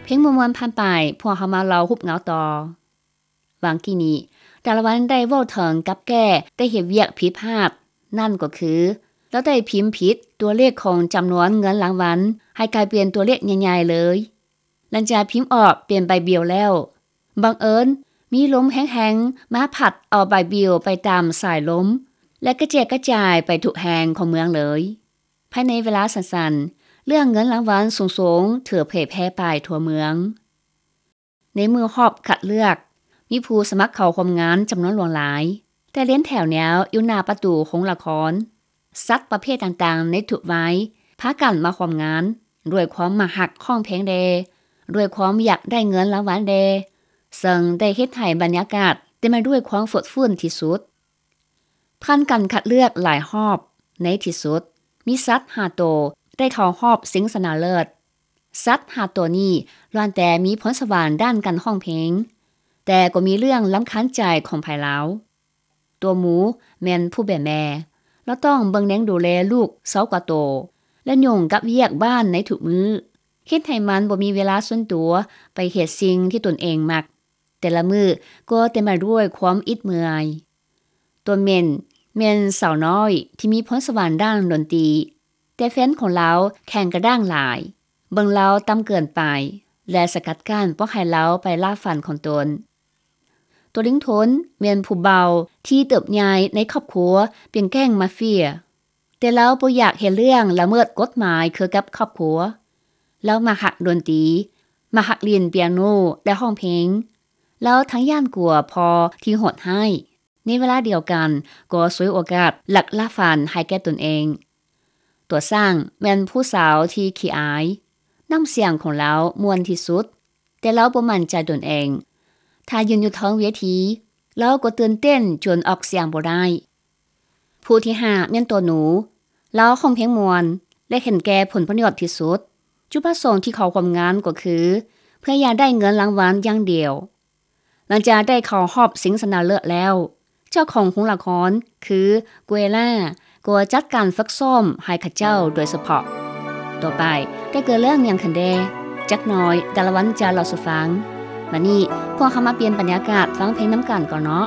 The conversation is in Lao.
ເພງມ່ວນໆຜ່ານໄປ, ພວກເຮົາມາເລົ່າຮູບເງົາຕໍ່. ຫວ່າງກີ້ນີ້, ດາລະວັນໄດ້ເວົ້າເຖິງກັບແກ້ໄດ້ເຮັດວຽກຜິດພາດ, ນັ້ນກໍຄື ລາວໄດ້ພິມຜິດຕົວເລກຂອງຈຳນວນເງິນລາງວັນໃຫ້ກາຍເປັນຕົວເລກໃຫຍ່ໆເລີຍ. ຫຼັງຈາກພິມອອກເປັນໃບບິວແລ້ວ, ບັງເອີນມີລົມແຮງໆມາພັດເອົາໃບບິວໄປຕາມສາຍລົມ ແລະ ກະແຈກກະຈາຍໄປທຸກແຫ່ງຂອງເມືອງເລີຍ. ພາຍໃນເວລາສັ້ນໆ, ເລື່ອງເງິນລາງວັນສູງໆຖືກເຜີຍແຜ່ໄປທົ່ວເມືອງ. ໃນມື້ຮອບຄັດເລືອກ, ມີຜູ້ສະໝັກເຂົ້າຮ່ວມງານຈຳນວນຫຼວງຫຼາຍ, ແຕ່ລຽນແຖວແນວຢູ່ໜ້າປະຕູໂຮງລະຄອນ. ສັດປະເພດຕ່າງໆໃນທຸກໄວພາກັນມາຮ່ວມງານ ດ້ວຍຄວາມມັກຮັກຮ້ອງເພງແດ່, ດ້ວຍຄວາມຢາກໄດ້ເງິນລາງວັນແດ່, ເຊິ່ງໄດ້ເຮັດໃຫ້ບັນຍາກາດເຕັມໄປດ້ວຍຄວາມຟົດຟື້ນທີ່ສຸດ. ຜ່ານການຄັດເລືອກຫຼາຍຮອບ, ໃນທີ່ສຸດ, ມີສັດຫ້າໂຕໄດ້ເຂົ້າຮອບຊິງຊະນະເລີດ. ສັດຫ້າໂຕນີ້ລ້ວນແຕ່ມີພອນສະຫວັນດ້ານການຮ້ອງເພງ, ແຕ່ກໍມີເລື່ອງລຳຄານໃຈຂອງໃຜລາວ. ຕົວໝູແມ່ນຜູ້ເປັນແມ່, ລາວຕ້ອງເບິ່ງແຍງດູແລລູກຊາວກວ່າໂຕ ແລະ ຫຍຸ້ງກັບວຽກບ້ານໃນທຸກມື້, ເຮັດໃຫ້ມັນບໍ່ມີເວລາສ່ວນຕົວໄປເຮັດສິ່ງທີ່ຕົນເອງມັກ. ແຕ່ລະມື້ກໍເຕັມໄປດ້ວຍຄວາມອິດເມື່ອຍ. ຕົວເມັນແມ່ນສາວນ້ອຍທີ່ມີພອນສະຫວັນດ້ານດົນຕີ, ແຕ່ແຟນຂອງລາວແຂງກະດ້າງຫຼາຍ, ເບິ່ງລາວຕ່ຳເກີນໄປ ແລະ ສະກັດກັ້ນບໍ່ໃຫ້ລາວໄປລ່າຝັນຂອງຕົນ. ຕົວລິງທົນແມ່ນຜູ້ເບົາທີ່ເຕີບໃຫຍ່ໃນຄອບຄົວເປັນແກ້ງມາເຟຍ, ແຕ່ລາວບໍ່ຢາກເຮັດເລື່ອງລະເມີດກົດໝາຍຄືກັບຄອບຄົວ. ລາວມັກຮັກດົນຕີ, ມັກຮັກຫຼິ້ນປຽໂນ ແລະ ຮ້ອງເພງ. ລາວທັງຢ້ານກົວພໍ່ທີ່ໂຫດຮ້າຍ, ໃນເວລາດຽວກັນກໍສວຍໂອກາດລັກລ່າຝັນໃຫ້ແກ່ຕົນເອງ. ຕົວຊ້າງແມ່ນຜູ້ສາວທີ່ຂີ້ອາຍ, ນ້ຳສຽງຂອງລາວມ່ວນທີ່ສຸດ, ແຕ່ລາວບໍ່ໝັ້ນໃຈຕົນເອງ. ຖ້າຢືນຢູ່ເທິງເວທີ, ລາວກໍຕື່ນເຕັ້ນຈົນອອກສຽງບໍ່ໄດ້. ຜູ້ທີຫ້າແມ່ນຕົວໜູ. ລາວຮ້ອງເພງມ່ວນ ແລະ ເຫັນແກ່ຜົນປະໂຫຍດທີ່ສຸດ. ຈຸດປະສົງທີ່ເຂົ້າຮ່ວມງານກໍຄືເພື່ອຢາກໄດ້ເງິນລາງວັນຢ່າງດຽວ. ຫຼັງຈາກໄດ້ເຂົ້າຮອບຊິງຊະນະເລີດແລ້ວ, ເຈົ້າຂອງໂຮງລະຄອນຄື Guerra ກໍຈັດການຝຶກຊ້ອມໃຫ້ເຂົາເຈົ້າໂດຍສະເພາະ. ຕໍ່ໄປໄດ້ເກີດເລື່ອງຫຍັງຂຶ້ນແດ່? ຈັກໜ່ອຍດາລະວັນຈະເລົ່າສູ່ຟັງ. ບັດນີ້ພວກເຮົາມາປ່ຽນບັນຍາກາດຟັງເພງນຳກັນກ່ອນເນາະ.